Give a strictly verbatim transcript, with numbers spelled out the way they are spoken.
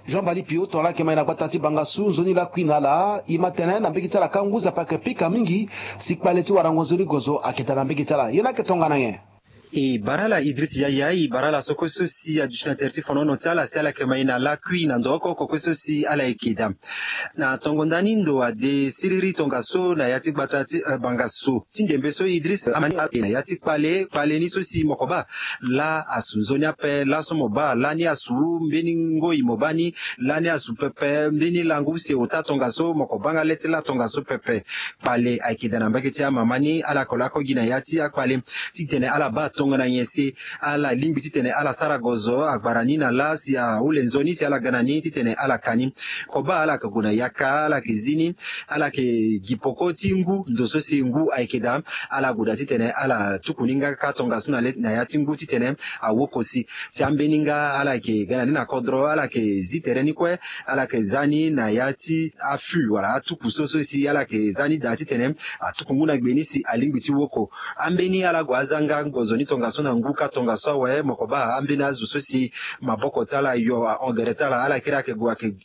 Jean Bali Pio, tongana ala yeke ma e na gbata ti Bangassou nzoni lakui na ala, e ma tene na mbege ti ala ka ngu Nzapa ayeke pika mingi. Si kpale ti warango nzoni gozo ayeke daa na mbege ti ala, ye ni ayeke tongana nyen? E bara ala Idriss Yaya, e bara ala so kue so si aduti na tere ti fonono ti ala si ala yeke ma e na lakui na ndo oko oko kue so si ala yeke daa. Na tongo ndani ndo ade siriri tongaso na ya ti gbata ti, eh, Bangassou ti ndembe so Idriss ama ni ala yeke na ya ti kpale, kpale ni so si mo ko baa laa asu nzoni ape, laso mo baa lani asu mbeni ngoi mo baa ni, lani asu pepe mbeni langu use ota tongaso mo ko baa nga le ti laa tongaso pepe. Kpale ayeke daa na mbage ti amama ni, ala yeke lako gi na ya ti akpale titene ala baa tongana nyen si ala lingbi titene ala sara gozo agbara ni na laa si ahule nzoni si ala ga na ni titene ala ka ni. Ko baa ala yeke gue na yaka, ala yeke zi ni, ala yeke gi poko ti ngu, ndo so si ngu ayeke daa, ala gue daa titene ala tuku ni nga kâ tongaso na le, na ya ti ngu titene awoko si. Ti ambeni nga ala yeke ga na ni na kodro, ala yeke zi tere ni kue, ala yeke za ni na ya ti afu wala atuku so so si ala yeke za ni daa titene atuku ngu na gbe ni si alingbi ti woko. Ambeni ala gue aza nga ngonzo ni tongaso na ngu kâ tongaso awe, mo ko baa ambeni azo so si maboko ti ala yo ahon gere ti ala, ala kiri ayeke gue ayeke